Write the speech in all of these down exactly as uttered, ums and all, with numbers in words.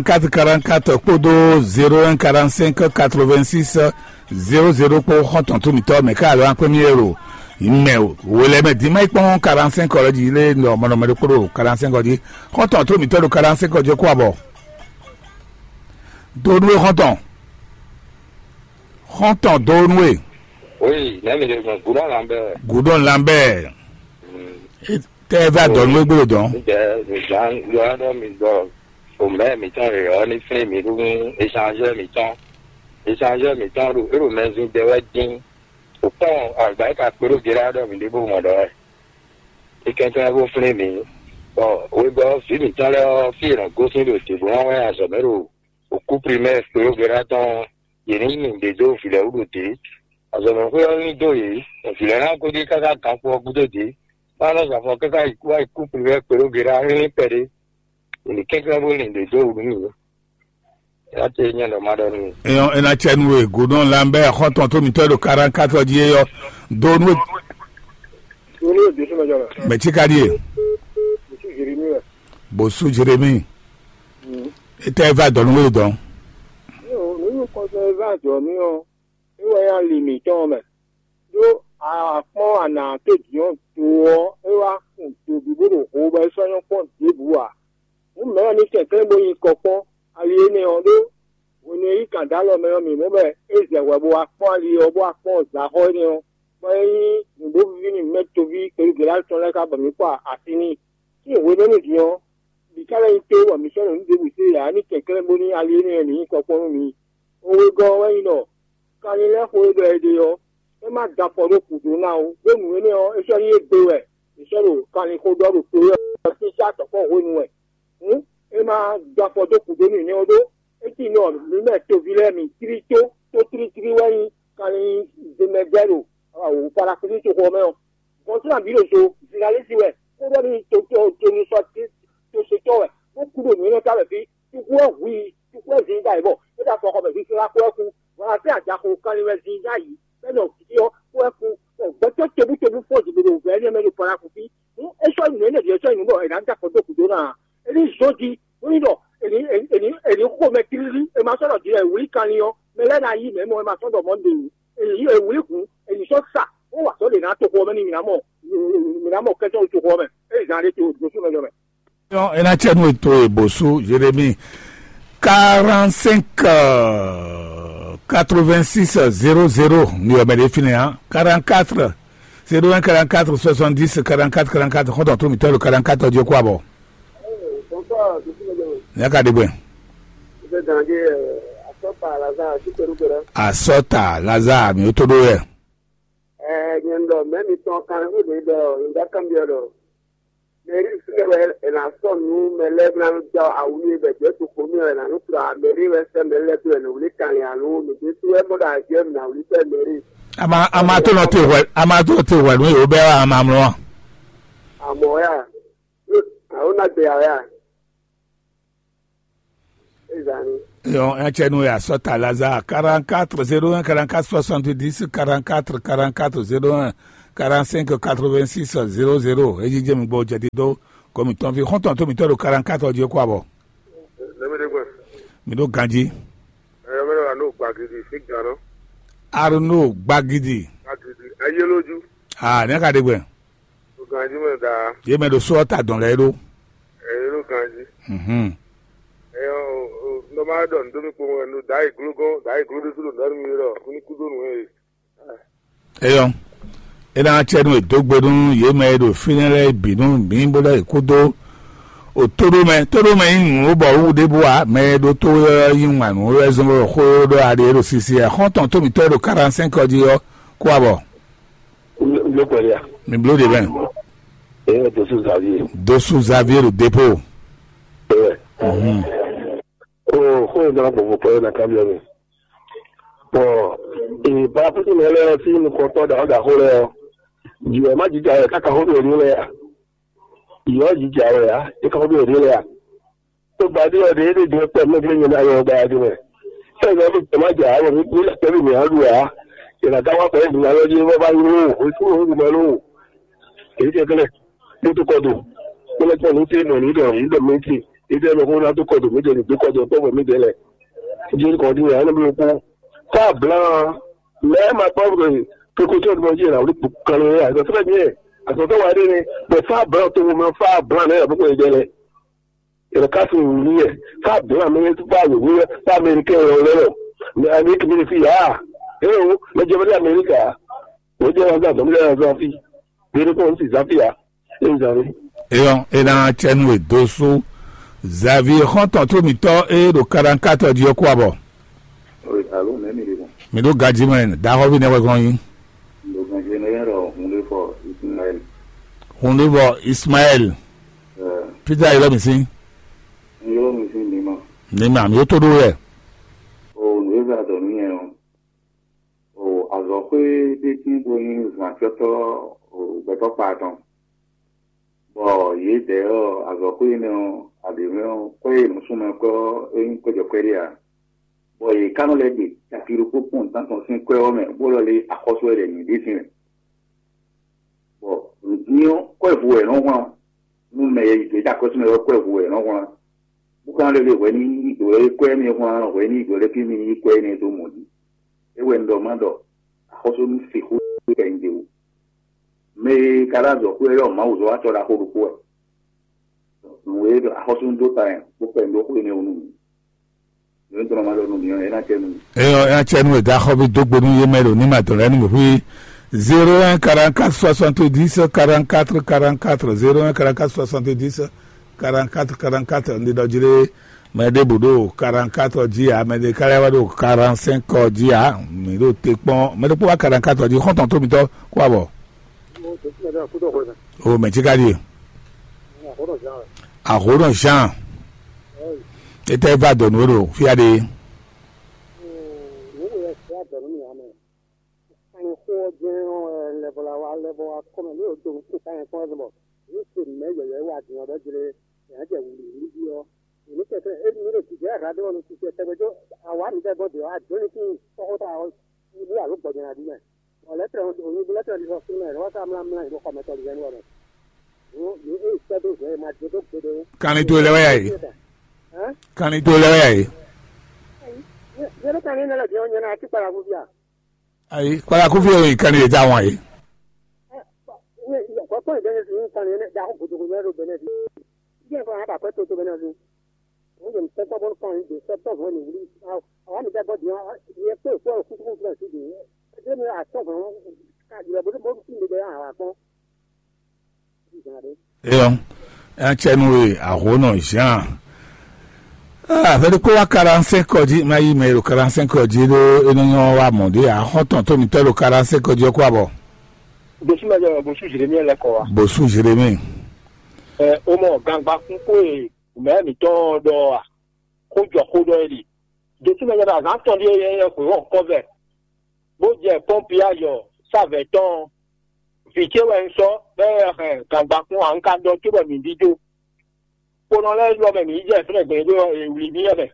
Quatre quarante-quatre kpódó zéro un quarante-cinq quatre-vingt-six zéro zéro kpó xɔ́ntɔn tó mǐtɔn mɛ ká alɔ akpé mì ero mɛ o. Wòlɛ mɛ dín má yi kpɔ́n quarante-cinq ɔ́ jí lé nɔ mɔnɔmɛ ɖokpó ɖo quarante-cinq ɔ́ jí. Xɔ́ntɔn tó mǐtɔn ɖo quarante-cinq ɔ́ jí kó abɔ. Donu e xɔ́ntɔn. Xɔ́ntɔn donu e. Oui, nɛ́ mi ɖe gbɔn gúdɔ lan bɛ. Gudɔn Lambert. Tɛ ɛ va dɔnu e gbolo dɔn. Ŋdɛ mi zan yɔ ɖɔ mi dɔ o mɛ mi tɔn rè ɔ ní flin mi ɖu échangeur mi tɔn. Échangeur mi tɔn ɖo ero mɛ zin dɛ wɛ dín. O kpɔn agba yi ka kpé ɖo gérá ɖɔ mi ɖe bó mɔ ɖɔ wɛ. É kɛnklɛ́n bó flin mi. Bɔ wegɔ́ vǐ mǐtɔn lɛ́ɛ ɔ́ fí è nɔ gosín ɖo dě bó nɔ wɛ azɔ̌ mɛ ɖo òkú primɛ́ɛ kpé ɖo gérá tɔn. Yě ní nyi nǔɖé dó vǐ lɛ́ɛ wú ɖo dě. Azɔ̌mɛxwé ɔ́ ní dó yě, bɔ vǐ lɛ́ɛ ná gosín káká ganxo ɔ́ gúdo dě. Má nɔ zɔ afɔ káká yi kú wá yi kú kplivɛ kpé ɖó gěɖá hlín kpɛɖé. Yě ní kɛnklɛ́n bó lin ɖě dó wǔ nú yě. Yá ce nyɛ ɖɔ má ɖɔ nú mi. Eyɔn ena cɛ nu e godɔn Lambert xɔtɔn tó mitɔ ɖo quarante-quatre jí eyɔ do nu. Olu e dusú mɛ jɔ mɛ. Mɛ tsi ka ɖie. Dusú Jérémie wɛ. Bosu Jérémie. Etɛ va dɔnu wele dɔn. Nínú kɔnsɛn e va jɔ mí ɔ́, é wɛ nyí ali mǐtɔn mɛ. Ɖó a kpɔ́n ana tó din ɔ́ do ɔ́, é wá kun do bǐ bó ɖo ho bɔ é sɔ́ nyɔ́ kpɔ́n ɖěbǔ ǎ. Nǔ mɛ̌ wɛ ní kɛnklɛ́n bó nyí kɔ kpɔ́n ali énɛ́ ɔ́ ɖó hwenu e yí kan dó alɔ mɛ ɔ́, mǐ mɔ bɔ é zɛ hwɛ bó wá kpɔ́n ali ɔ́, bó wá kpɔ́n zǎxɔ énɛ́ ɔ́, bɔ é nyí nǔɖovíví nú mɛ toví kpɛɖúgěɖá tɔn lɛ́ɛ ká bɔ mǐ kpa asi n'i. Sín hwenɛ́nu din ɔ́, mǐ ka lɛ́ nyí tó bɔ mǐ sɔ́ ɖo nǔ ɖěbǔ se ǎ ní kɛnklɛ́n bónú ali énɛ́ ɔ́ ní nyí kɔ kpɔ́n nú mi. Xówegɔ́ ɔ́ wɛ nyí ɖɔ kanlin lɛ́ɛ xó e ɖɔ è ɖe ɔ́, é má da afɔ ɖó gǔdo ná ó, ɖó nǔ énɛ́ ɔ́, é sɔ́ nyí égbé wɛ è sɔ́ ɖo kanlin xó ɖɔ ɖo to é ɔ́ sín sá tɔ̌kpɔ́ hwenu wɛ. Hǔn, é má dó afɔ dó kúdó nú nyɛ ɔ́ ɖó é cí nɔ mǐ mɛ toví lɛ́ɛ mǐ tlí tó tó tlítlí wɛ nyí kanlin zimɛgbɛ́ ɖo Palakúsi toxo ɔ́ mɛ ɔ́. Gɔ̌n sín abǐ ɖo zo Zizalɛ́si wɛ, kó ɖɔ n'i to to to nusɔ tosotɔ wɛ, bó kú ɖo nǔ énɛ́ ta wɛ fí. Cukú wɛ hu i, cukú wɛ zin ɖ'ayǐ bɔ é ɖo afɔxɔ mɛ fífí wá kú wɛ kú. Bɔ afí ajaxo kanlin wɛ zin ɖ'ayǐ, bɔ é nɔ fí ɔ́ kú wɛ kú. Bɔ gbɛtɔ́ tobútobú fɔ́n zǐgbéɖo vɛ̌ énɛ́ mɛ ɖo Palakúsi. Nú é sɔ́ nyi nǔ énɛ́ ɖě é sɔ́ nyi nǔ bɔ è nǎ da kɔ dó gǔdo ná ǎ. É ní zɔ́n jí, bó ní ɖɔ è ní è ní è ní xo mɛ tlílí, è ma sɔ́ ɖɔ jǐ wɛ è wlí kanlin ɔ́, mɛ lɛ́ɛ ná yí mɛ̌ mɔ, è ma sɔ́ ɖɔ mɔ̌ ɖe wǔ. È ní è wlí hǔn, è ní sɔ́ sa, bó wa azɔ̌ ɖě ná toxo ɔ́ mɛ ní mǐ ná mɔ mǐ ná mɔ kɛ́tɔ́ ɖo toxo ɔ́ mɛ. É zán ɖé to ɖo súnmɛ jɔ mɛ. Ena cɛ nu eto e bosu Jérémie quarante-cinq quatre-vingt-six zéro zéro ni ɔmɛ ɖe fínɛ́ ǎ. Quarante-quatre zéro un quarante-quatre soixante-dix quarante-quatre quarante-quatre xɔtɔn tó mitɔ ɖo quarante-quatre ɔ́ jí kó abɔ. Nya ka ɖe gbɛ. Asɔta Lazare mi ó tó ɖó yɛ. Ɛɛ, nyɛ ŋɖɔ mɛ mitɔn kan xó ɖe ɖɔ ŋɖa kanbyɔ ɖɔ mɛri fúnɛ wɛ è nǎ sɔ́ nǔ mɛ lɛ́ɛ bó ná nú jɔ awu nú bɛ jɛ to xo mì wɛ è nǎ nú kplɔ mɛri wɛ sɛ́ mɛ lɛ́ɛ dó wɛ nǔ wlí kanlin alo nǔ ɖé sú wɛ mɔ ɖo ajɛ mǐ ná wlí sɛ́ mɛri. Ama ama tó nɔ te hwɛ ama tó nɔ te hwɛ nú yòó bɛ wa ama mlɔ wa. Amɔ ya alo na gbe ya ya. Ezani. Yɔn ɛtsɛ nu ya sɔta Lazare quarante-quatre zéro un quarante-quatre soixante-dix quarante-quatre quarante-quatre zéro un quarante-cinq quatre-vingt-six zéro zéro. Eyi jɛ mi gbɔ jɛ di do ko mi tɔn fi xɔntɔn to mi tɔ do quarante-quatre ɔdi ko abɔ. Lɛmɛdɛgbɛ. Mi do ganji. Ɛyɔ mɛ wa n'o gbagidi fi gan nɔ. Arnaud Gbagidi. Gbagidi ayé lójú. Ah, ne ka de gbɛ. Ganji mɛ da. Ye mɛ do sɔ ta dɔn lɛ do. Ɛyɛ ló ganji. Mhm. Ɛyɔ, nɔmɔ dɔ ndomi kpɔmɔ nɔ da yi glo gɔn da yi glo ɖésú ɖo nɔri mi ɖɔ kúni kúdó nù ɛ. Eyɔn. Ena tsɛ nu edo gbe nu ye mɛ ɖo finɛ lɛ binu mi bo lɛ kudo. O todo mɛ todo mɛ yi nu bɔ wu de bo wa mɛ ɖo to yɔ yi ŋma nu yɔ zɔn bɔ xo ɖo aɖe ɖo sisi ɛ xɔntɔn to mi tɔ ɖo quarante-cinq ɔdi yɔ kó abɔ. Ló pẹ̀lú à. Mi blo de bɛ. Eye dosu Xavier. Dosu Xavier ɖo dépôt. Ewɛ. Mhm. O xó yẹn dɔrɔn gbogbo pẹ̀lú na kábíyɔ mi. Bɔn ìbáfúnni mɛ lɛ sí nukɔntɔn dàgbà xó lɛ ɔ. Jùlọ má jíjà yẹ káka xó mi ò ní lɛ à. Ìyọ́ jíjà wẹ̀ á, é káka xó mi ò ní lɛ à. Tó ba dé ɔdɛ é dé jẹ pɛ mɛ gbé nyina yɔ ba dé mɛ. Sɛ yɔ bi tɛ ma dza wɔ mi mi lɛ tɛ bi mi alu a. Yɛ na ka wa pɛ mi alɔ dzi wɔ ba yi lo o tu o ma lo. Èyí tɛ kɛlɛ. Mo tó kɔ do. Mo lɛ kpɔ ní tí nɔ ní dɔ ní dɔ mi tí. Ide mɛ ko na do kɔdo mi de ni do kɔdo kpɔ mi de lɛ. Jeri kɔ di ya ne mi ko. Fa blan. Mais ma pas de précaution de manger là, on est pour calmer. Ça très bien. À son temps, on va dire, mais fa blan, tout le monde fa blan, mais beaucoup de délai. Et le cas où il est, fa blan, mais tout pas le oui, pas américain, on est là. Mais Amérique, mais ici, ah, eh oh, mais je veux dire Amérique, ah. Wodze wá zan zɔn lé zan fí. Ɖeɖe kpɔ́n si zan fí ǎ. Ényí zan lé. Eyɔn, é ná cɛ nú è dó sú Xavier xɔ́ntɔn tó mǐtɔn e ɖo Karankatɔ jí ɔ́ kú abɔ. Alo mɛ mi ɖe mɔ. Mǐ ɖo gají mɛ, daxɔví nɛ́ wɛ gɔ́n nyí. Ɖo gají mɛ yɛn ɖɔ hun ɖé fɔ Ismaël. Hun ɖé fɔ Ismaël. Peter yɛlɛ mi sín. Yɔrɔ mi sín nima. Nima mi ó tó ɖó wɛ. O nù é zan dɔ nú yɛn o. O azɔ̌xwé ɖé tín bó nyí zǎncɔ́tɔ́ gbɛtɔ́ kpa tɔn, bɔ yědɛɛ ɔ́, azɔ̌xwé énɛ́ ɔ́, aɖě mɛ ɔ́, kwɛ́ e nǔsúnmɛ kwɛ́ ɔ́, é nyí kwɛ́jɔkwɛ́ ɖé ǎ, bɔ yě ká nɔ lɛ́ ɖe caki ɖokpó kpɔ́n nǔtán tɔn sín kwɛ́ ɔ́ mɛ, bó lɔ́ lé axɔ́sú wɛ ɖɛ nyǐ ɖé sín mɛ, bɔ nǔdín ɔ́, kwɛ́ vo wɛ è nɔ́ hwlán nú mɛ e yi dǒ é ɖo akɔ́sú mɛ ɔ́, kwɛ́ vo wɛ è nɔ́ hwlán, bó ka nɔ lɛ́ ɖe hwɛ ní yí dǒ lɛ́ kwɛ́ mi hwlán, hwɛ ní yí dǒ lɛ́ fí mi yí kwɛ́ énɛ́ dó mɔ jí. É wɛ un ɖɔ má ɖɔ axɔ́sú nú sixú kɛ nyi ɖe wú. Mɛ e ka ɖo azɔ̌ xwé ɔ́, Mawu zɔ́ wá tɔ́ ɖaxó ɖokpó wɛ. Nǔ e ɖɔ axɔ́sú dó ta yɛn bó kpɛ nǔ ɖó xwé énɛ́ wú nú mì. Nǔ e un tlɔ́ ma ɖɔ nú mì ɔ́, é ná cɛ nú mì. Eyɔ, é ná cɛ nú wěda xɔ bí dó gbe nú yé mɛ ɖo ní ma dɔn lɛ́ nú mǐ xwí. Zéro un quarante quatre soixante dix quarante quatre quarante quatre, zéro un quarante quatre soixante dix quarante quatre quarante quatre, un ɖi ɖɔ jí ɖé. Mɛ ɖěbǔ ɖo quarante quatre jí ǎ, mɛ ɖé ka lɛ́ wá ɖo quarante cinq jí ǎ. Mǐ ɖo te kpɔ́n mɛ ɖokpó wá quarante quatre jí, xɔ́ntɔn tó mitɔ́ kó abɔ. O mɛ cí ka ɖíe. Ahǒnɔ Jean. Étɛ́ va dɔ̌ nú we ɖo fí aɖe. Nǔ e wɛ sɛ adɔ̌ nú mì ǎ mɛ. Kanyi xó ɔ́ jɛ́n ɔ́ wɛ lɛ bɔ la wá lɛ bɔ wá kɔ mɛ ní o do nukún kanyi kpɔ́n wɛ bɔ yě se mɛ yɛyɛ wá din ɔ́ ɖɔ jlé yě ná jɛ wǔlí wúlí jí ɔ́. Yě ní kɛkɛ é ní ɖo jijɛ radó ɔ́ nú titɛ tɛgbɛ jó awǎ mi tɛ gbɔn dě ɔ́, a jǒ ní tín kɔ́xota ɔ́ ní alo gbɔjɛ ná ɖi mɛ. Bɔ lɛ́trɛ ɔ́, òní lɛ́trɛ ɔ́ ɖi sɔ fún mɛ, lɔwọ́ ká mlá mlá yě ɖo xɔmɛtɔ́ lizɛ́ nú ɔ́ mɛ. Yě é sɛ́ dó zɛ ma jɛ dó gbeɖé. Kanlin towe lɛ́ wɛ yá yě. Kanlin towe lɛ́ wɛ yá yě. Yě ɖo kanlin nɛ lɛ jɛ ɔ́ nyɛ ná tí kpala fúfia. Ayi, kpala kúfí ɔ́ yi kanlin yě já wọn yě. Kɔkɔ yi bɛnɛ sin kan ne da ko godo godo do bɛnɛ bi. Diɛ ko ha ba ko to to bɛnɛ bi. Mo je tɛ tɔ bɔ kan de sɛ tɔ vo ni wuli. Awa mi da bɔ diɛ ye ko ko ku ku ku si de. De mi a tɔ vo ka je bo bo si de de a wa ko. Eyɔn, é ná cɛ nú we ahǒnɔ Jean. Ah, fɛ́ ɖokpó wá quarante-cinq ɔ́ jí, má yí mɛ e ɖo quarante-cinq ɔ́ jí ɖó é nɔ nyɔ́ wá mɔ̌ ɖé ǎ. Xɔ́ntɔn tó mitɔ́ ɖo quarante-cinq ɔ́ jí ɔ́ kó abɔ. Bosú ma jɛ bosú Jérémie lɛ kɔ wa. Bosú Jérémie. Ɛ o mɔ gangba kún kó e mɛ mǐtɔn ɖɔ a, xó jɔ xó ɖɔ é ɖi. Bosú ma jɛ azǎn tɔn ɖíe yɛ yɛ xwé wɔn kɔ vɛ, bó jɛ pɔ́npi ayɔ sávɛ tɔn. Vǐ ce wɛ un sɔ́ bɔ é hɛn gangba kún a, un ka ɖɔ cóbɔ mǐ ɖidó. Kponɔ lɛ́ɛ ɖɔ mɛ mǐ yi jɛ fínɛ́ gbɛn ɖó è wlí mì ɔ́ mɛ.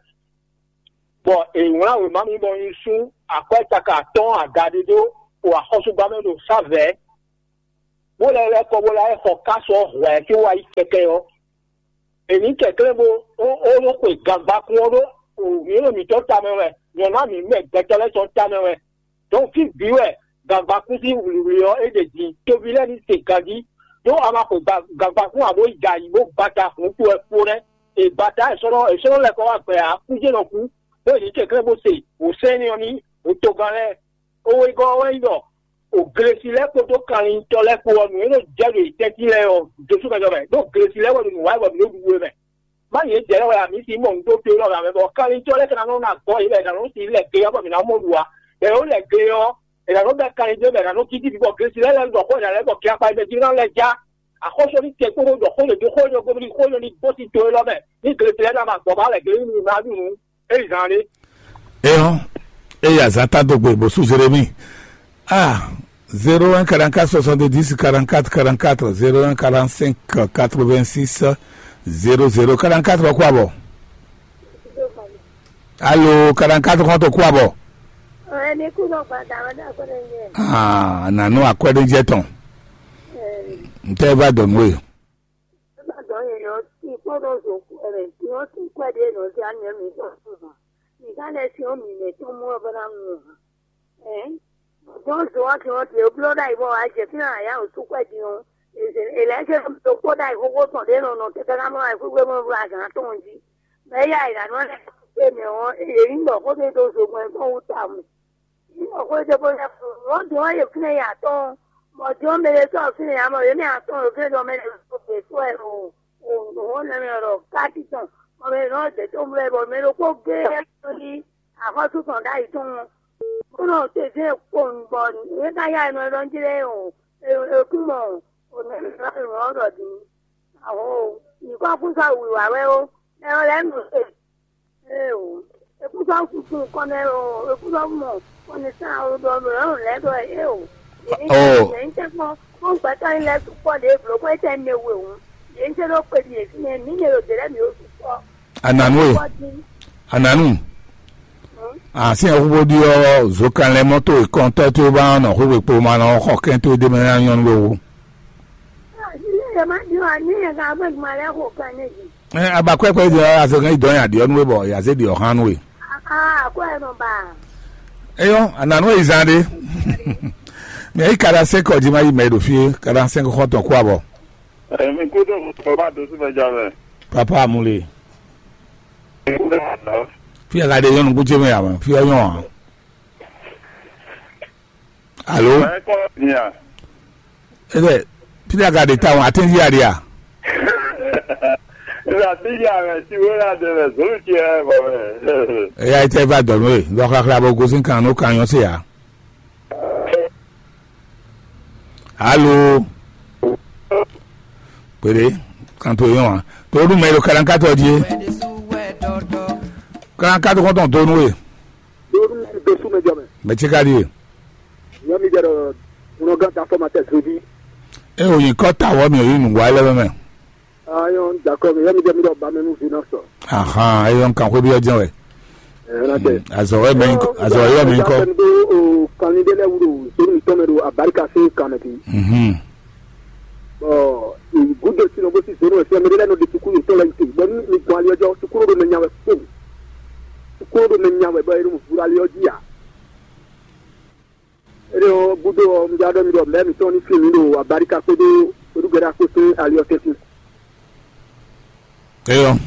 Bɔ è wlán wěma mì bɔ un sú akwɛ́ caka atɔ́ɔ́n aga ɖé ɖó o axɔ́súgbá mɛ ɖo sávɛ̌, bó lɛ́ lɛ́ kɔ bó lɛ́ xɔ ká sɔ́ hwɛ̌ cóbɔ wá yi kɛkɛ ɔ́. È nǐ kɛnklɛ́n bó ó ó nɔ xwe gangba kún ɔ́ ɖó mǐ ɖo mǐtɔn tamɛ wɛ, nyɔ̌nu mǐ mɛ gbɛtɔ́ lɛ́ɛ tɔn tamɛ wɛ. Dɔn fí bǐ wɛ gǎngbakún sín wlǐwlí ɔ́ é ɖe din, toví lɛ́ɛ ní se ganjí, ɖó a ma xwe gǎngbakún ǎ bó yi da ayǐ bó gbata hǔn towe kpó nɛ́. È gbata è sɔ́ nɔ è sɔ́ nɔ lɛ́ kɔ wá gbɛ ǎ, kújé nɔ kú, bó yi ní kɛnklɛ́n bó se wǒ sɛ́n énɛ́ ɔ́ n'i wǒtogán lɛ́ɛ. Owegɔ́ ɔ́ wɛ nyí ɖɔ, o glesi lɛ́ɛ kpódó kanlintɔ́ lɛ́ɛ kpó ɔ́, nǔ e nɔ jɛ ɖo yě tɛ́ntin lɛ́ɛ ɔ́, Jezu mɛ jɔ mɛ, ɖó glesi lɛ́ɛ wɛ ɖo nǔ wa wɛ bɔ mǐ ɖo ɖuɖu we mɛ. Má yě jɛ lɛ́ wɛ ǎ, mǐ sixú mɔ nǔ ɖó to élɔ́ mɛ, bɔ kanlintɔ́ lɛ́ɛ ka ná nɔ ná gɔ́ yě bɔ è nǎ nɔ sin lɛ ge ɔ́ bɔ mǐ ná mɔ ɖu ǎ. Bɔ è nɔ lɛ ge ɔ́, è nǎ nɔ bɛ́ kanlin dó bɔ è nǎ nɔ cí jí bɔ glesi lɛ́ɛ lɛ́ ɖɔ xó è nǎ lɛ́ bɔ kɛ akpa yě mɛ jí ná lɛ́ já. Axɔ́sú ní tɛn kpódó ɖɔ xó yě dó xó yě dó gbómìnì xó yě ní gosín to élɔ́ mɛ. Ní glesi lɛ́ɛ ná ma gbɔ bá lɛ glesi ní ná ɖu nǔ. É yi zan ɖé. Eyɔn, eya zata dogbe bosu Jérémie. Ah, zéro un quarante-quatre soixante-dix quarante-quatre quarante-quatre, zéro un quarante-cinq quatre-vingt-six zéro zéro quarante-quatre kó abɔ. Alo, quarante-quatre kɔn to kó abɔ. Ɛni kú nɔ gbada wọn dá gbọdọ yẹ. Ah, nanu akwɛɖe jɛ tɔn. Ntɛ va dɔn we. Ẹ bá dọ̀ yẹn lọ sí kpɔ́ ɖɔ zo kú ɛnɛ, tí wọ́n tún kú ɛɖí ɛnɛ, ɔ́, sí anyɛ mi tɔn fún hàn. Mi ká lɛ sí ɔ́, mi mɛ tɔn mú ɔ́, bɔ ná mú hàn. Ɛ̌n, dɔn zo ɔ́, tí wọ́n tún bló ɖ'ayǐ bɔ wá jɛ fínɛ́ ǎ yá wǒ sú kú ɛɖí ɔ́, è lɛ̌ ṣe ɖo kpó ɖ'ayǐ xóxó tɔn ɖě nɔ nɔ tɛtɛ ná mɔ ayǐ xwíxwé mɔ vla gǎn tɔn jí. Mɛ éyɛ́ ayǐ ná nɔ lɛ́ kpé mɛ ɔ́, yě ní ɖɔ xó ɖé ɖó zogbɛ́n tɔn wú tawun. Ní xwé ɖé bó lɛ́ fún ɔ́, din ɔ́, yě fínɛ́ yě atɔ́ɔ́n, bɔ din ɔ́, mɛ ɖé sɔ́ fínɛ́ yě amɔ, yě mɛ atɔ́ɔ́n ɖo fínɛ́ ɖɔ mɛ ɖé sɔ́ gbě sɔ́ ɛ ɖo òhún nɛ́ mɛ ɖɔ káti tɔn, bɔ mɛ nɔ dě tó mlɛ, bɔ mɛ ɖokpó gé ɛ ní axɔ́sú tɔn ɖ'ayǐ tɔn, bó nɔ tezɛ́n kpowun, bɔ yě ká yá ɛ nɔ ɖɔ njí lɛ́ɛ o, è kún mɔ ònɛ́ ɔ́ ɖɔ din. Aho, nyǐkɔ kún sɔ́ wǐwá wɛ ó, mɛ ɔ́ lɛ́ɛ nɔ se. Éeǒ, é kún sɔ́ susu kɔn mɛ ó, é kún sɔ́ mɔ kɔnɛsán ó ɖɔ lɔ̌ lɛ́ɛ ɖɔ éeǒ. Yě ní Oh. Yě ní tɛ́nkpɔ́n kpɔ́n gbɛtɔ́ nyí lɛ́ɛ sukpɔ́ ɖě blǒ kɔn étɛ́ mɛ we hǔn, yě ní se ɖó kpeli yě fínɛ́, mǐ nyɛ ɖo dě lɛ́ɛ mǐ ó sukpɔ́. Ananu e, Kpɔ́ dín. Ananu, Hǔn, a sin ɛkúbó ɖi ɔ́, zokan lɛ mɔto e kɔntɔ́ towe ba nɔ xwé kpo ma nɔ xɔ kɛn towe ɖé mɛ ná nyɔ́ nú we wú. Ní yě má ɖi wá, ní yě ká gbé gbɔn lɛ́ɛ xo kan ní jí. Ɛ, abakwɛkwɛ yi dɔ azɔ kan yi dɔ nya ɖiɔ nú we bɔ ya zé ɖiɔ hán nú we. Aa, akwɛ nɔ ba. Eyɔ, ananu yi zan ɖe. Mɛ yi kada sɛ kɔ ji ma yi mɛ ɖo fie, kada sɛ kɔ tɔn kó abɔ. Èmi kúndùn bàbá dosú mẹ jọ mẹ. Papa amule. Èmi kúndùn bàbá. Fi aga de yɔnu kúndé mɛ yàmɛ, fi ɔyɔn a. Alo. Ẹ kọ́ ni à. Ebe, fi aga de ta wọn, atɛnji a de a. Ìgbà tí ìyá rẹ̀ ti wé láti rẹ̀ sórí ti ẹ bọ̀ rẹ̀. Eya yi tɛ va dɔnu e, dɔ xaxla bo gosin kan no kan yɔn se ya. Alo. Péré, kan to yɔn wa. To dun mɛ lo kalankatɔ die. Kalankatɔ kɔntɔn donu e. Donu e be su mɛ jɔ mɛ. Mɛ tsi ka die. Yɔ mi jɛ dɔ, unɔ gan ta fɔ ma tɛ so di. E o yin kɔ ta wɔ mi o yi nungwa lɛ mɛ. Ayɔn dakɔ mi yɔ mi jɛ mi dɔ ba mɛ nu vi na sɔ. Ahan, e yɔn kan xwe bi ɔjɛ wɛ. Ɛ na tɛ. Azɔ wɛ mɛ yin kɔ, azɔ wɛ mɛ yin kɔ. Kan ni de lɛ wuro so mi tɔmɛ do abarika se kan mɛ bi. Mhm. Bɔn gúdo tí nɔ bó sí zéro ɛsɛ mɛ ɖé lɛ́ɛ nɔ ɖe sukúlu yětɔn lɛ́ɛ yí te bɔ ní mi gbɔn ali ɔ́ jɔ sukúlu ɖo mɛ nya wɛ kpó sukúlu ɖo mɛ nya wɛ bɔ é ɖo vúɖó ali ɔ́ jí ǎ. Éɖé ɔ́ gúdo ɔ́, un já ɖɔ mi ɖɔ mɛ̌ mǐtɔn ní flín mǐ ɖo abaríka kpódó kpódúgbɛ́dá kpó sín ali ɔ́ tɛ́ntin. Eyɔ,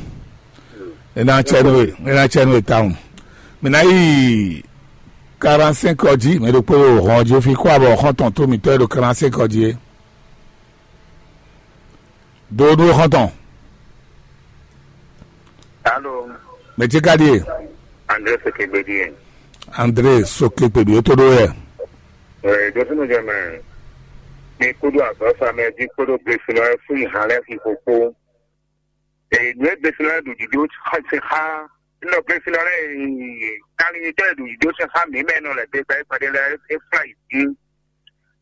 e ná tsɛ nú we, e ná tsɛ nú we tawun. Mǐ ná yi quarante-cinq ɔ jí, mɛ ɖokpó ɖo hɔn jí fi kó abɔ xɔ́ntɔn tó mǐtɔn e ɖo quarante-cinq ɔ jí é. Dodó xɔ́ntɔn. Alo. Mɛ tsi ka ɖie? André Sokegbe ɖie. André Sokegbe ɖie tó ɖó yɛ. Ee, dotunu jɛ mɛ. Mi kúdó azɔ̌ sa mɛ jí kpódó gbesinɔ lɛ́ɛ fún ìhàn lɛ́ɛ xixo kpó. Ee, nǔ e gbesinɔ lɛ́ɛ ɖo jǐjó sin xá, nɔ gbesinɔ lɛ́ɛ kanlin tɔn e ɖo jǐjó sin xá mǐ mɛ nɔ lɛ̌ gbe gbɛ́ gbɛɖé lɛ́ɛ é flá yi dín.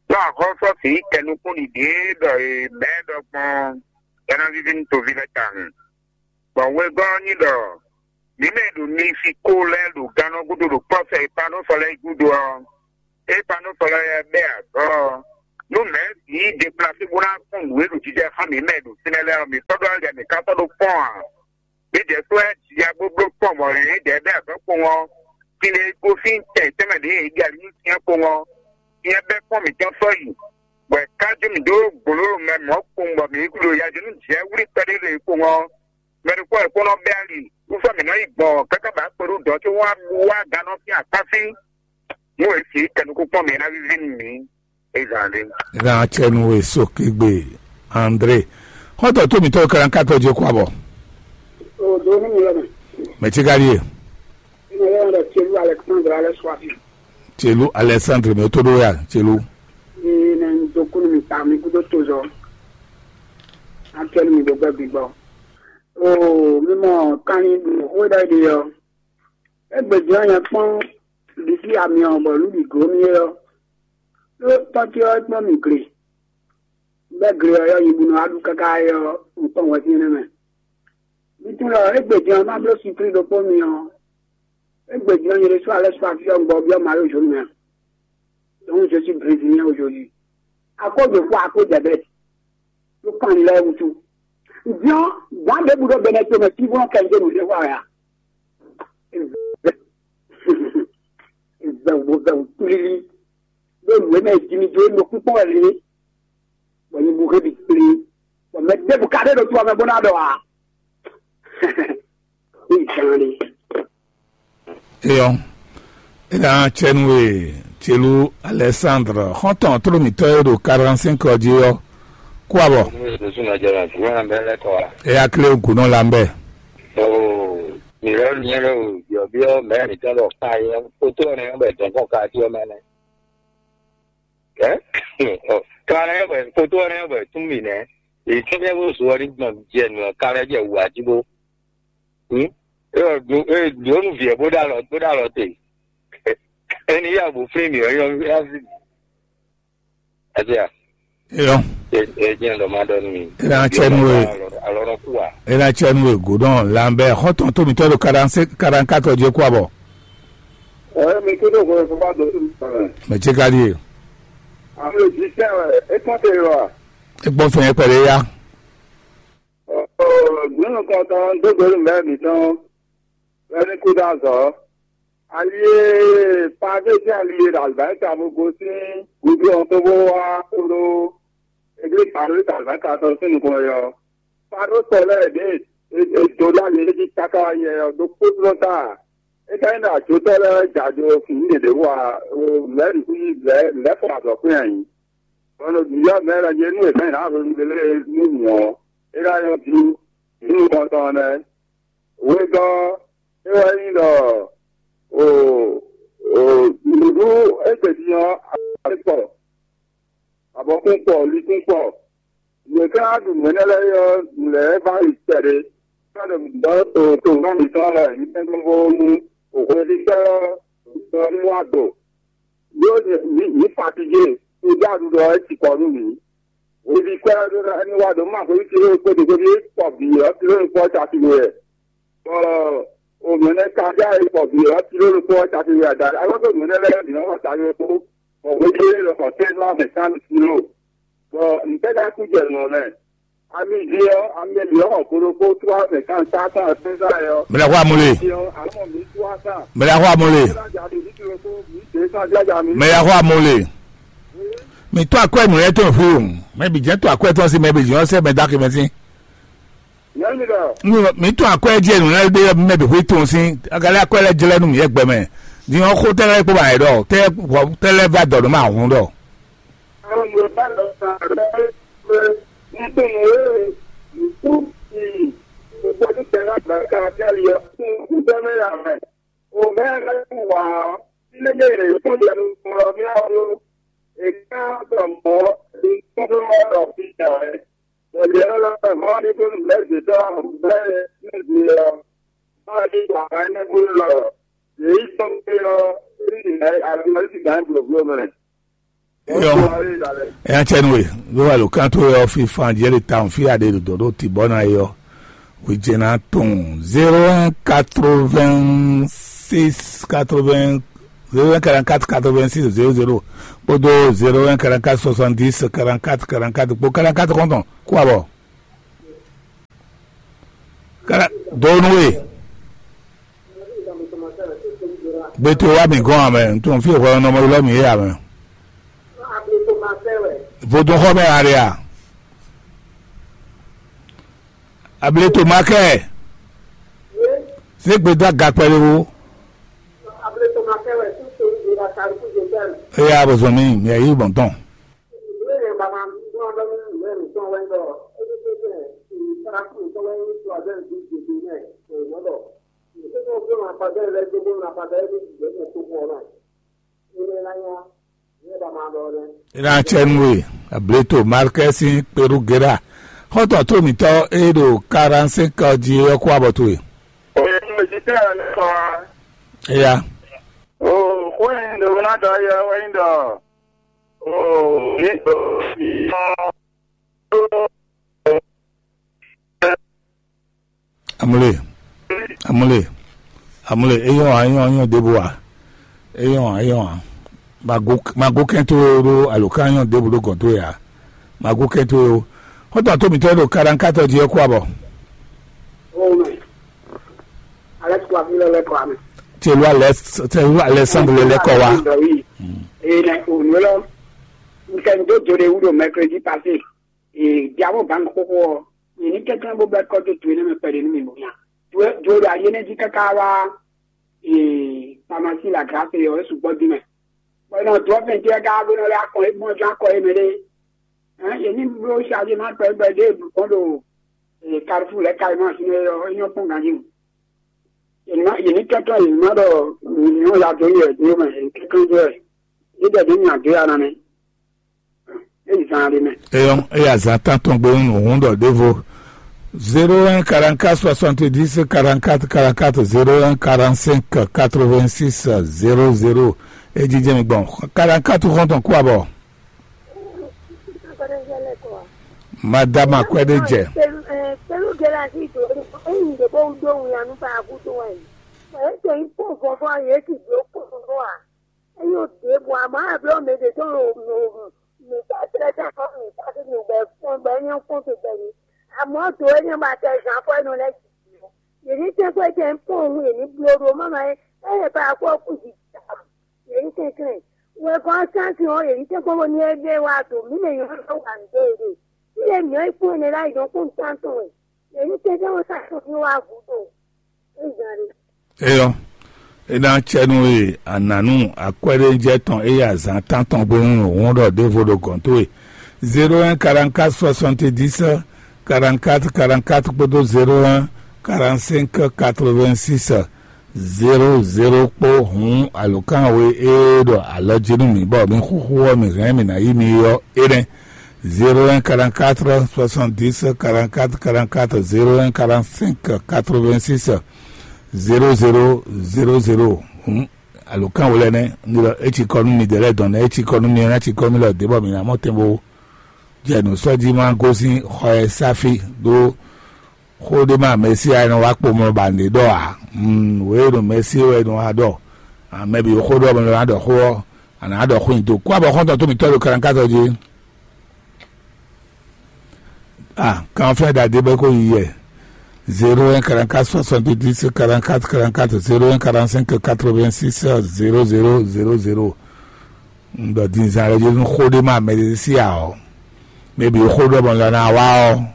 Ɖó axɔ́sɔ́ sǐ kɛ nukúnɖiɖi e ɖɔ è mɛ̌ ɖɔ gbɔn é ná víví nú toví lɛ́ɛ tawun. Bɔ wegɔ́ ɔ́ nyí ɖɔ mǐ mɛ e ɖo Mexiko lɛ́ɛ ɖo gannɔ gúdo ɖo kpɔ́ sɛ e Panúfɔ lɛ́ɛ yi gúdo ɔ́, é Panúfɔ lɛ́ɛ bɛ́ azɔ̌ ɔ́, nú mɛ̌si yi deplase bó ná kpɔ́n nǔ e ɖo jijɛ xá mǐ mɛ ɖo fínɛ́ lɛ́ɛ ɔ́, mǐ sɔ́ ɖó alɛ mǐ ka sɔ́ ɖó kpɔ́n ǎ. Mǐdɛɛ kpó wɛ ya bó bló kpɔ́n bɔ yě dɛɛ bɛ́ azɔ̌ kpowun ɔ́, fínɛ́ gosín tɛn tɛnmɛ ɖě è ɖi ali nú syɛ́n kpowun ɔ́, syɛ́n bɛ́ kpɔ́n mǐtɔn sɔ́ yi, bɔ è ká jó mǐ dó gbǒlóló mɛ mɔ̌ kpowun bɔ mǐ ɖo yajó nú jɛ̌ wlí kpɛɖé ɖe kpowun ɔ́, mɛ ɖokpó wɛ kpó nɔ bɛ́ ali, wú sɔ́ mǐ nɔ yi gbɔn káká bǎ kpeɖú dɔ̌ có wá wá gannɔ sín akpá fí. Nú è sǐ kɛnukúnkpɔ́n mǐ ná víví nú mǐ. Ezǎn ɖé. Ná tsɛ nú we sókègbè André. Xɔ́ntɔn tó mǐtɔn kalankatɔ jɛ kó abɔ. O do ní mi lɔ mɛ. Mɛ tí ka ɖíe. Ní mi lɔ mɛ ɖɔ Tielu Alexandre alɛ suafi. Tielu Alexandre mɛ tó ɖó ya Tielu. Ní nɛ ń dó kúnú mi ta mi kúdó tó zɔ. Akɛlu mi gbɛgbɛ gbigbɔ. O mi mɔ kanni ɖu xó ɖɔ ɖi ɔ. Égbé jɔ́n nyɛ kpɔ́n ɖisí amyɔ bɔ nǔ bǐ gló mì é ɔ́, ɖó tɔ́ ce ɔ́ é kplɔ́n mì gle. Bɛ́ gle ɔ́ yɔ́ nyi bó nɔ wá ɖu káká é ɔ́, un kpɔ́n hwɛfínɛ́ mɛ. Mi tunwun ɖɔ égbé din ɔ́, má bló sinplín ɖokpó mi ɔ́, égbé din ɔ́, nyɛ ɖésú alɛ́ sɔ́ afí ɔ́, un gbɔ byɔ́ Mawu zǒnu mɛ ǎ. Donc, je suis brésilien aujourd'hui. À cause de quoi? À cause des bêtes. Ɖó kan lɛ́ɛ wútu. Vɔn, gǎn ɖěbǔ ɖo Bɛnɛto mɛ fínfɔ́n kɛ nyi dó nǔɖé wa wɛ a? Vɛwǔ vɛwǔ tlílí ɖó nǔ e mɛ è ji mi dó é nɔ kpíkpɔ́n wɛ lě, bɔ nyibú hé bǐ kplé, bɔ mɛ ɖěbǔ ka ɖé ɖo to ɔ́ mɛ bó ná ɖɔ ǎ. Ní gǎn ɖé. Eyɔ́, é ná cɛ nú we Celú Alɛsándr, xɔ́ntɔn tlóló mǐtɔn e ɖo karantɛ́nk ɔ́ jí ɔ́, kú abɔ. Éyá klé gǔnɔ lambɛ. Mǐ lɛ́ nyɛ lɛ́ o byɔ̌byɔ́ mɛ̌ mǐtɔn ɖɔ ka yɛ kótó ɔ́ nɛ́ bɛ dɔ̌nkɔ́n ka jí ɔ́ mɛ nɛ́. Ɛ? Ka nɛ́ bɛ kótó ɔ́ nɛ́ bɛ tún mì nɛ́. Èyí tún mɛ bó zo ɔ́ ní gbɔn jɛ nǔ ɔ́ ka lɛ́ jɛ wǔ jí bó. Hm? É ɔ́ ɖǒ é ɖǒ nú vǐ ɛ bó ɖó alɔ bó ɖó alɔ te. Ɛni yá bó flín mì ɔ́ nyɔ́ yá sí. Ɛsɛ a? Eyɔ́, É é jẹ́ ɖɔ má ɖɔ nú mi. É ná cɛ nú we. Alɔ nɔ kú a? É ná cɛ nú we gǔdɔn lanbɛ xɔ́ntɔn tó mǐtɔn ɖo karantɛ́nk ɔ́ jí kú abɔ. Ɛ mi kúndé hwɛ fún bá dɔn sí mi sɔ̀rọ̀. Mɛ ce ka ɖíe. Àwọn èjì sẹ́ ẹ̀ é kán tẹ̀ yọ à. É gbọ́n fún yẹn pẹ̀lú yá. Gbɔ̌n nukɔntɔn dó gbe nú mɛ̌ mǐtɔn wɛ ní kú dó azɔ̌. Ali e Pavée sín ali e ɖo alǐbáyíta bó gosín gǔdo ɔ́ tó bó wá kpódó Eglíza Pavée ɖo alǐbáyíta tɔn sín nukɔn wɛ ɔ́, Fado sɔ lɛ́ɛ ɖě è dó ɖó ali é jí káká wá yɛ ɔ́ ɖokpó jlɔ́ ta. É ka nyí ɖɔ ajotɔ́ lɛ́ɛ wɛ jɛ ajo fǐn ɖěɖě wú a? Lɛ̌ nǔkún lɛ̌ lɛ̌ fɔ azɔ̌ kpɛ́n ǎ nyí. Bɔ ɖo nǔyɔ́ mɛ lɛ́ɛ jɛ nú è hɛn nǎ hwenu ɖé lɛ́ɛ nú mǐ ɔ́, é ná nyɔ́ jí nú nukɔn tɔn ɔ́ nɛ́. Wegɔ́ ɔ́, é wɛ nyí ɖɔ o o nǔɖuɖu égbé din ɔ́, abɔkún kpɔ, abɔkún kpɔ, likún kpɔ. Yě ká ɖu nǔ énɛ́ lɛ́ɛ ɔ́, nǔ lɛ́ɛ va yi kpɛɖé. Ká ɖo ɖɔ to to nɔ mǐtɔn lɛ nyí tɛ́ngbɔ́n nú hweɖíkpɛ́ ɔ́ ní wá do. Ɖó mǐ fatigé, tó dó aɖuɖɔ ɔ́ é cikɔ nú mǐ. Hweɖíkpɛ́ ɔ́ ɖó ná ní wá do má hweví kilo kpó ɖě hweví kpɔ bǐ ɔ́ kilo kpó caki wɛ. Bɔ o mɛ̌ nɛ́ ka já e kpɔ bǐ ɔ́ kilo kpó caki wɛ ada. Alɔ tó mɛ̌ nɛ́ lɛ́ɛ bǐ nɔ wá caki wɛ kpó. Bɔ hweví é lɔ xɔ tɛ́nlá mɛ kán kilo. Bɔ ntɛ́ ka kú jɛ nɔ mɛ? Ami jí ɔ́, ami jí ɔ́ xɔ kpo ɖokpó tlú azɛ kan tá tɔn ɛsɛ́nsá yɛ ɔ́. Mɛ lɛ́ xɔ amú le. Jí ɔ́, amɔ mi tlú asa. Mɛ lɛ́ xɔ amú le. Ná jà mi ní kí lóko mi dé sá jájà mi. Mɛ lɛ́ xɔ amú le. Mi tó akwɛ nǔ lɛ́ɛ tɔn fí o. Mɛ bǐ jẹ́ tó akwɛ tɔn sí mɛ bǐ jẹ́ ɔ́ sẹ́ mɛ dákì mɛ sí. Nyɛ mi ɖɔ. Mi tó akwɛ jẹ́ nǔ lɛ́ɛ ɖé mɛ bǐ xwé tɔn sí. Agalẹ́ akwɛ lɛ́ɛ jlɛ́ nú mi yɛ gbɛ mɛ. Din ɔ́ xó tɛ́ lɛ́ɛ kpó ba yɛ ɖɔ tɛ́ tɛ́ lɛ́ɛ va dɔ̌ ɖó ma hǔn ɖɔ. Àwọn Yorùbá lọ sàn rẹ pé nítorí eré ìkú ìyìn gbogbo títẹ̀ lágbàáká bí àlìyọ fún ìgbẹ́mẹ́yà rẹ̀. Òmẹ́ rẹ̀ kù wá sílé èrè fún ìyẹnu ọ̀rọ̀ ní àwọn èké àgbọ̀mọ́ ìkúndú ọ̀rọ̀ fi jà rẹ̀. Pẹ̀lú ọlọ́pàá mọ́ ní kó lù mẹ́sì tó àwọn bẹ́ẹ̀ ní ìdí ọ. Máa ní ìgbà kan ní kó lọ. Èyí tó ń pè ọ́ sí ìgbà àti wọ́n sì gbà ń gbòògbò mẹ́rin. Eyɔ́, eya cɛ nú we, ɖó alǒkan towe ɔ́ fífán jɛ ɖe tawun fí aɖe ɖo dɔ̌ ɖo tǐ bɔ ná é ɔ́, hwejɛ́ná tɔn zéro un quatre-vingt-six quatre-vingts zéro un quarante-quatre quatre-vingt-six zéro zéro kpódó zéro un quarante-quatre soixante-dix quarante-quatre quarante-quatre kpó quarante-quatre kɔntɔn kú abɔ. Kára dó nú we. Gbé towe wá mǐ gɔ́n ǎ mɛ, un tunwun fí e hwɛ ɔ́ nɔ mɔ ylɔ́ mǐ é ǎ mɛ. Vodúnxɔ́mɛ ǎ ɖe a? Ableto makɛ. Zé gbe dó aga kpɛɖé wó. Eya bɔ zɔn mi, mi ayi bɔn tɔn. Ina cɛ nú we, Ableto Markɛsi Perugera, xɔ́ntɔn tó mǐtɔn e ɖo quarante-cinq jí é ɔ́ kó abɔ towe. Oye, mo ti tẹ́ ẹ lẹ́kọ̀ọ́. Eya. O, xó yẹn ɖo ná dɔ yɛ wɛ nyí ɖɔ. O, ní. Amule, amule, amule, eyɔn a, eyɔn a, eyɔn ɖěbǔ a, eyɔn a, eyɔn a, mago mago kɛn towe ɖo alo ká eyɔn ɖěbǔ ɖo gɔ̌n towe a, mago kɛn towe o. Xɔ́ntɔn tó mǐtɔn e ɖo Kadankatɔ jí ɔ́ kú abɔ. Oh, man. Alex Kwafilɔ lɛ kɔ ame. Telu Alex, Telu Alexandre lɛ kɔ wa. Ee, nɛ o nǔ lɔ. N kɛ n dó do ɖe wú ɖo mercredi passé. Ee, diabo bank xoxo ɔ. Yě ní kɛnklɛ́n bó bɛ́ kɔ́ dó do énɛ́ mɛ kpɛɖé nú mì bó nya. Do do ɖo ayi énɛ́ jí káká wá. Ee, pharmacie la grâce ɔ, é sukpɔ́ dín mɛ. Bɔ é nɔ dó ɔ́ fɛn jɛ ká bó nɔ lɛ́ akɔ é mɔ jɔ akɔ é mɛ ɖé. Hɛn, yě ní bló chargé má kpɛ gbɛ ɖé bɔ ɖo Carrefour lɛ́ ka e má sin é ɔ́, é nyɔ́ kpɔ́n ganjí. Yě ní yě ní kɛnklɛ́n yě má ɖɔ nyɔ̌ ya dó yɛ dó mɛ, yě ní kɛnklɛ́n dó wɛ. Yě dɛ dó nya dó ya ná nɛ́. É yi zan ɖé mɛ. Eyɔn, eya zan tán tɔn gbe nú hǔn ɖɔ ɖěvo. Zéro un quarante-quatre soixante-dix quarante-quatre quarante-quatre, zéro un quarante-cinq quatre-vingt-six zéro zéro. É jijɛ mi gbɔn. Quarante-quatre xɔntɔn kú abɔ. Madame Akwɛde jɛ. Pelu gela si do eyin de bo do wun anu fa agu do wɛ. Ete yi po vɔvɔ ye ti do ko vɔvɔ a. Eyo de bo ama ablo me de to no no mi ta tre ta ko mi ta ke no be fon be nyo fon te be ni. Amo do enyo ba te jan fo no le. Ye ni te ko je po hu ye ni blo do mama e. E ba ko ku ji. Yě nyí kɛnklɛ́n. Wɛkɔ́ ɔ́ sín asin ɔ́, yě ní tɛ́nkpɔ́n bónú é ɖe wá do mǐ mɛ nyɔ̌nu lɛ́ɛ wa nǔ dó yě ɖe. Fí e mǐ ɔ́ yi kpɔ́n ɛnɛ ɖ'ayǐ dɔn kpɔ́n nǔtán tɔn wɛ. Yě ní tɛ́nkpɔ́n bó sɔ́ asin fí wá gǔdo. É zǎn ɖé. Eyɔ, é ná cɛ nú e ànǎnu akwɛ́ɖéjɛ tɔn é yi azǎn tántɔn gbe nú nǔhún ɖɔ ɖěvo ɖo gɔ̌n towe. Zéro un quarante-quatre soixante-dix quarante-quatre quarante-quatre kpódó zéro un quarante-cinq quatre-vingt-six zéro zéro kpó hǔn alǒkan we e ɖo alɔ jí nú mǐ bɔ mi xúxú ɔ́ mi hɛn mǐ ná yí mi ɔ́ é nɛ́: zéro un quarante-quatre soixante-dix quarante-quatre quarante-quatre zéro un quarante-cinq quatre-vingt-six zéro zéro zéro zéro. Hǔn alǒkan we lɛ́ɛ nɛ́. Ní ɖɔ é cikɔ nú mi dɛ̌ lɛ́ɛ dɔn nɛ́, é cikɔ nú mi ɔ́ ná cikɔ mì lɔ dě bɔ mǐ ná mɔ tɛn bó jɛ nǔ sɔ́ jí má gosín xɔ ɛ sáfí ɖó xó ɖé má Mɛsíya e nɔ wá kpomlɔ ba nǔɖé ɖɔ ǎ. Wě e ɖo Mɛsíya wɛ è nɔ wá ɖɔ. Mɛ bǐ xó ɖɔ mɛ lɔ ná ɖɔ xó ɔ́, a nǎ ɖɔ xó nyi do. Kú abɔ xɔ́ntɔn tó mǐtɔn ɖo kalankátɔ jí. Ah, kan fɛn ɖagbe bɛ ko yi yɛ. Zéro un quarante-quatre soixante-dix quarante-quatre quarante-quatre, zéro un quarante-cinq quatre-vingt-six zéro zéro zéro zéro. Un ɖɔ din zan lɛ jí nú xó ɖé má Mɛsíya ɔ́, mɛ bǐ xó ɖɔ mɔ lɔ ná wá ɔ́,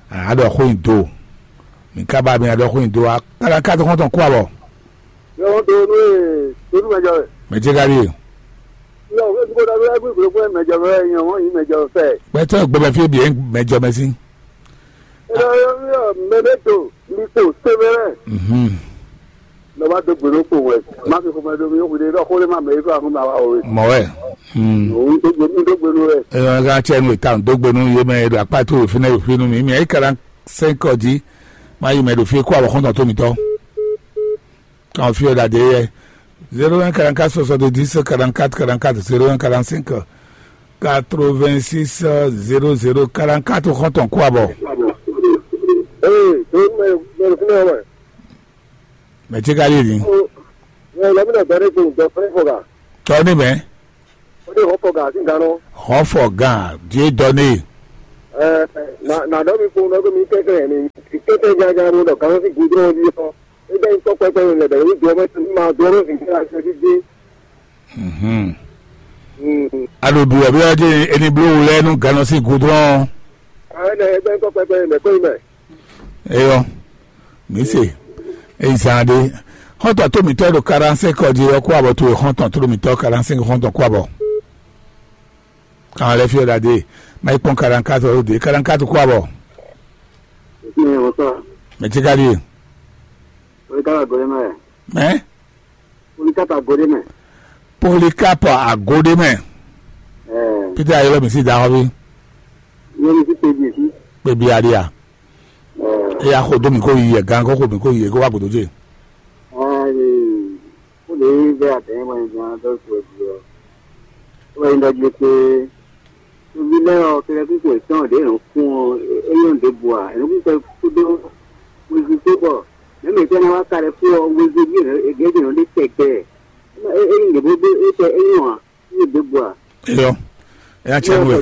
a nǎ ɖɔ xó nyi do. Mǐ ka ba mi ná ɖɔ xó nyi do wá káká tó xɔ́ntɔn kú abɔ. Yɔn do nú e do nú mɛjɔ wɛ. Mɛ ce ka ɖíe. Yɔ wɛ dugo dɔ wɛ gbígbó kúrẹ́ mɛjɔ wɛ yɔn wọ́n yìí mɛjɔ fẹ́. Gbɛtɔ gbɛmɛ fi bi mɛjɔ mɛ sí. Yɔ yɔ yɔ mɛ ɖe to mi kpo sɛbɛrɛ. Mhm. Lɔ bá dó gbèdó kpo wɛ. Má fi xɔmɛ dó mi yókù dé dɔ xó lé má mɛ yí fún àfún bàbá o. Mɔ wɛ. Hmm. Òun tó gbèdó tó gbèdó wɛ. Ɛ ɔn ká tsɛ nu ìta tó gbèdó yé mɛ ɖo akpá tó òfin náà òfin nu mi mi ayé kara sɛn kɔ jí. Má yí mɛ ɖo fi kó àwọn xɔntɔn tó mi tɔ. Kan fi ɔda de yɛ. Zéro un quarante-quatre soixante-dix quarante-quatre quarante-quatre, zéro un quarante-cinq quatre-vingt-six zéro zéro quarante-quatre xɔntɔn kó abɔ. Ee, tó mɛ mɛ fúnɛ wɛ. Mɛ tí ka lé ní. Ó, ẹ lọ mí lọ gbẹdẹ kó gbẹ fúnẹ fọgà. Tọ́ ní mẹ́. Ó dé hàn fọgà sí nǹkan náà. Hàn fọgà díẹ̀ dọ́ ní. Ẹ nà nà dọ́ mi kó lọ́gbẹ́ mi kẹ́kẹ́ ẹ̀ ní kẹ́kẹ́ jájá ló lọ kàn sí gudrọ́n yìí sọ. Ẹ jẹ́ ikọ́ pẹ́pẹ́ yẹn lẹ̀bẹ̀ ní dùn ọmọ sí máa dùn ọmọ sí kí ẹ ṣe dídí. Mhm. Mm. Aɖo ɖu ɛ bí ɔ́ dzi eni bló wú lɛ nú gannɔ sín gudrɔn. Ɛ nɛ ẹ jẹ́ ikọ́ pẹ́pẹ́ yẹn lẹ̀ kó yín mẹ́. Eyɔ, mi se, eyi zan ɖe. Xɔntɔn tó mitɔ ɖo quarante-cinq ɔ́ jí ɔ́ kó abɔ towe xɔntɔn tó mitɔ quarante-cinq xɔntɔn kó abɔ. Kan lɛ fi ɔda de, ma yi kpɔn quarante-quatre ɔ́ de, quarante-quatre kó abɔ. Mɛ wosɔ. Mɛ tí ka ɖi. Oyi kaba gɔlɛ mɛ. Mɛ. Oyi kaba gɔlɛ mɛ. Polycarpe Agodemɛ. Ɛɛ. Peter ayɔlɔ mi si da xɔ bi. Yɛ mi si pe bi si. Pe bi aɖia. Ɛɛ. Eya xo do mi ko yi yɛ gan ko xo mi ko yi yɛ ko wa godo je. Ɛɛ. Ó lè bẹ́ àtẹ̀yìn wọn ìgbìmọ̀ tó tó di ọ. Ó wá yín dɔjú pé tóbi lẹ́yìn ọ̀kẹ́rẹ́ kúkú ìtàn ọ̀dẹ́ ìrùn fún ọ, é yóò dé bu à, ìrùn kúkú kúdó wíwí tó bọ̀. Mẹ́mẹ́ ìfẹ́ náà wá kárẹ̀ fún ọ, wíwí bí ègé dè lé tẹ̀gbẹ́. É yín lè bó dé é tẹ é yàn án, é yóò dé bu à. Eyɔ, Ena cɛ nu ɛ.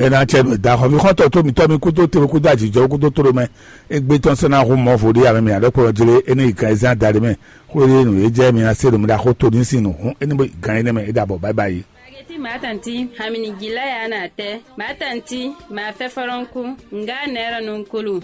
Ena cɛ nu ɛ da xɔ mi xɔtɔ to mi tɔ mi kudo te kudo ajijɔ kudo toro mɛ. Egbe tɔn sɛn na hu mɔ vo ɖe ame mi aɖe kplɔ jele ene yi kan ezan da ɖe mɛ. Xo ɖe nu e jɛ mi ase ɖo mi ɖa xo to ni sin nu hun ene bo gan ene mɛ e ɖa bɔ bye bye. Ageti matanti hamini gila ya na tɛ matanti ma fɛ fɔlɔnku nga nɛrɔ nunkulu.